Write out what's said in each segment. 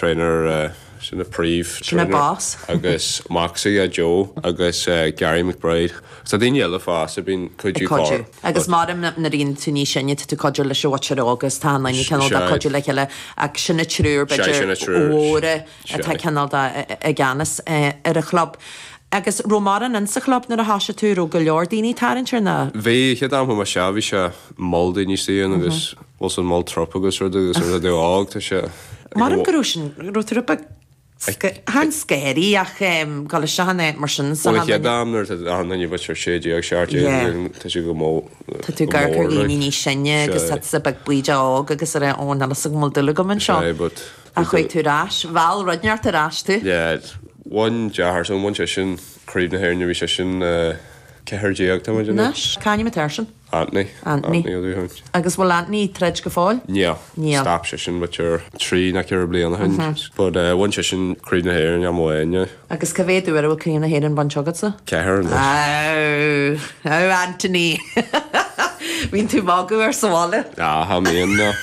trainer, sin an príomh Sin an trainer boss. agus mac s'aige Joe agus Gary McBride. Tá daoine eile fosta a bíonn Ag cuidiú cuidiú. cor Agus but. maram nuair a bhíonn tú níos sine tá tú cuidiú leis an mhuintir óg agus tá an duine cineál de Sea. cuidiú le chéile ach sin na triúr Sea, b'fhéidir sin na triúr. mhóra Sea. atá cineál de i gceannas ar an chlub. Agus raibh mórán insa chlub nuair a thoisigh tú, raibh go leor daoine ag tarraingt air nó? Bhí, chéad am chuaigh mé isteach bhí sé moll daoine istigh ann agus bhfuil san moll trup agus rud agus nuair atá tú óg tá sé Maram go raibh sin, raibh tú rud beag chan scary ach dul isteach in áit mar sin sa Bhuel an chéad am nuair atá achan duine b'fhéidir 16, 17 tá sé go mór Tá tú ag amharc ar dhaoine níos sine agus tá tusa beag baoideach óg agus ag rá ó níl fhios agam an bhfuil dúil agam anseo. Sea but Ach chuaigh tú ar ais, mheall rud inteacht ar ais tú. Yeah, bhain deartháir s'agam, bhain seisean Craobh na hÉireann nuair a bhí seisean 14 tá muid anois. Cá ainm atá airsean? Anthony. Anthony. Anthony Ó Dúsháin. Agus bhfuil Anthony ag troid go fóill? Níl. Níl. Stop seisean b'fhéidir trí nó ceithre bliana ó shin. But bhain seisean Craobh na hÉireann am amháin, yeah. Agus cá mhéad uair a bhfuil Craobh na hÉireann bainte agatsa? Ceathair anois. Ow! Ow Anthony! Bíonn tú ag magadh air sa bhaile? Ah, cha mbíonn, no.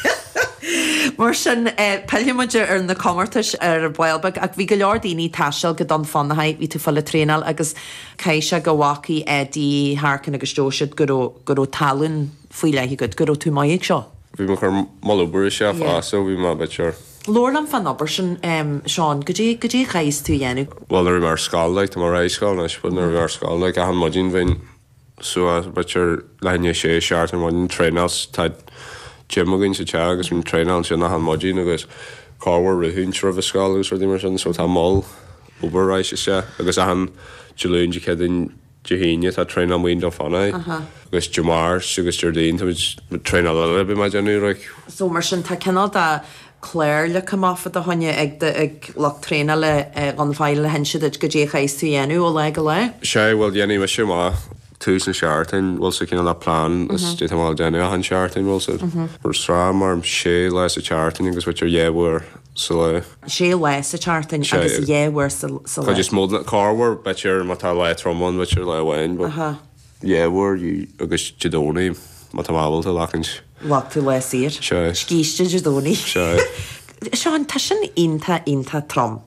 Mar sin, pillfidh muid ar na comórtais ar ball beag ach bhí go leor daoine ag taisteal go Dún Fionnachaidh, bhí tú ag fáil traenáil agus Caithfidh sé go bhfacaidh Eddie Harkin agus Joe siad go raibh, go raibh tallann faoi leith agat, go raibh tú maith ag seo. Bhí mé ag cur moll obair isteach fosta, bhí mé b'fhéidir. Labhair liom fán obair sin, Seán, goidé, goidé a chaithfeas tú a dhéanamh? Bhuel nuair a bhí mé ar scoil, like, tá mé ar scoil anois, but nuair a bhí mé ar scoil, like, achan maidin bheinn suas b'fhéidir leath i ndiaidh a sé, seacht ar maidin, traenáil, tá gym againn sa teach agus bhínn traenáil ansin achan maidin agus corruair rith roimh an scoil agus rudaí mar sin, so tá moll obair ar ais isteach agus achan Dé Luain, Dé Céadaoin, Dé hAoine tá traenáil amuigh i nDún Fionnachaidh agus Dé Máirt agus Déardaoin tá muid traenáil eile a bhí mé ag déanamh like. So mar sin tá cineál de clár leagtha amach fá do choinne ag do ag lucht traenála Dhún Fionnachaidh le hinse duit goidé a chaithfeas tú a dhéanamh ó lá go lá? Sea, bhuel dhéanfaidh mise amach tús na seachtaine, bhfuil sa cineál de plean is goidé tá mé a dhéanamh achan seachtain, bhfuil sa mar sraith mar sé lá sa tseachtain agus b'fhéidir dhá uair sa lá. Sé lá sa tseachtain agus dhá uair sa lá. Cuid is mó den corruair b'fhéidir má tá lá trom ann b'fhéidir lá amháin but dhá uair agus Dé Domhnaigh má tá mé ábalta glacaint. Ghlac tú lá saor. Sea. Scíste Dé Domhnaigh. Sea. Seán, tá sin iontach iontach trom.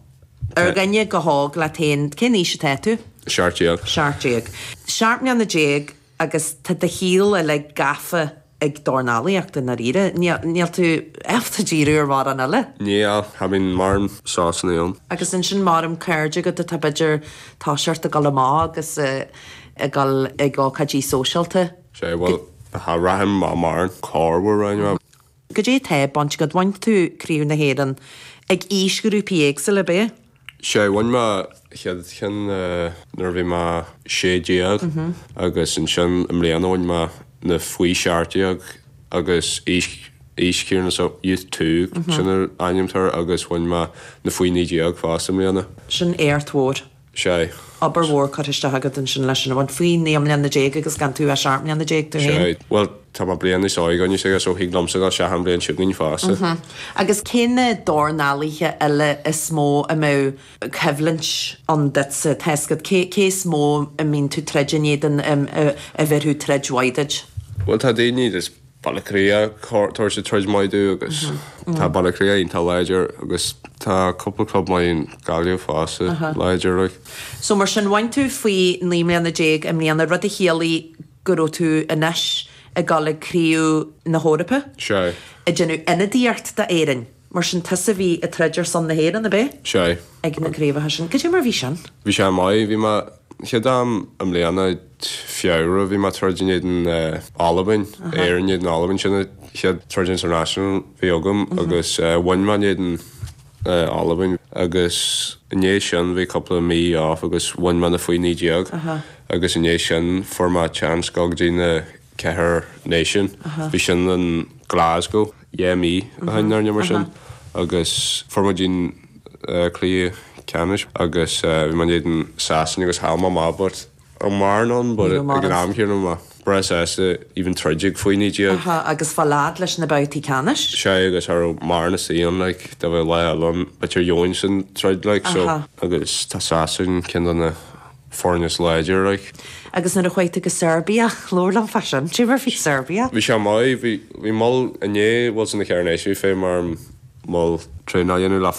Ar dhuine chomh hóg leat féin, cén aois atá tú? 17. 17. 17 mbliana agus tá do shaol uilig gafa ag dornálaíocht i ndáiríre. Níl tú ábalta díriú ar mhórán eile. Níl, cha bhíonn mórán sosanna ann. Agus ansin maram cairde agat atá b'fhéidir toiseacht ag dul amach agus ag dul ag ócáidí sóisialta. Sea, bhuel, cha rachainn amach mórán corruair anyway. Goidé atá bainte agat? Bhain tú Craobh na hÉireann ag aoisghrúpaí éagsúla, ab ea? Sea, bhain mé chéad cheann nuair a bhí mé 16 agus ansin i mbliana bhain mé na faoi 17 agus aois aois chéanna so Youth 2 sin an ainm atá air agus bhain mé na faoi 19 fosta i mbliana. Sin éacht mhór. Sea. Obair mhór curtha isteach agat ansin leis sin a bhaint faoi 19 mbliana agus gan tú ach 17 mbliana tú féin. Sea. Bhuel, tá mé bliain níos óige anois aige so thig liomsa dul isteach an bhliain seo chugainn fosta. Agus cé na dornálaithe eile is mó a mbeadh coimhlint ann duitse, tá fhios agat, cé cé is mó a mbíonn tú troid in éadan a bhéarfadh troid mhaith duit? Bhuel, tá daoine just Baile Átha Cliath tabharfaidh siad troid maith domh agus tá Baile Átha Cliath iontach láidir agus tá cúpla club maith in Gaillimh fosta láidir like. So mar sin bhain tú faoi 19 mbliana i mbliana, rud a chiallaigh go raibh tú anois ag dul ag Craobh na hEorpa? Sea. Ag déanamh ionadaíocht d'Éirinn. Mar sin tusa a bhí ag troid ar son na hÉireann, ab ea? Sea. Ag na craobhacha sin. Cad é mar a bhí sin? Bhí sé maith. Bhí mé, chéad am i mbliana, Feabhra, bhí mé ag troid in éadan Albain, Éirinn in éadan Albain, sin an chéad troid international a bhí agam agus bhain mé in éadan Albain agus i ndiaidh sin bhí cúpla mí off agus bhain mé na faoi 19 agus i ndiaidh sin fuair mé chance dul go dtí na ceathair náisiún. Bhí sin in Glasgow dhá mí ó shin nó mar sin agus fuair muid an cluiche ceannais agus bhí mé in éadan Sasana agus chaill mé amach but raibh mórán ann but ag an am céanna bhí mé breá sásta even troid ag faoi 19. Agus fáil fhad leis na babhtaí ceannais. Sea agus cha raibh mórán istigh ann like dá mbeadh lá eile ann b'fhéidir gheobhainn san troid like so agus tá Sasana ceann de na foirne is láidir like. Agus nuair a chuaigh tú go Serbia, labhair liom fá sin, cad é mar a bhí Serbia? Bhí sé maith, bhí, bhí moll, i ndiaidh bhfuil san na ceithre náisiún fé mar moll traenáil a dhéanamh le.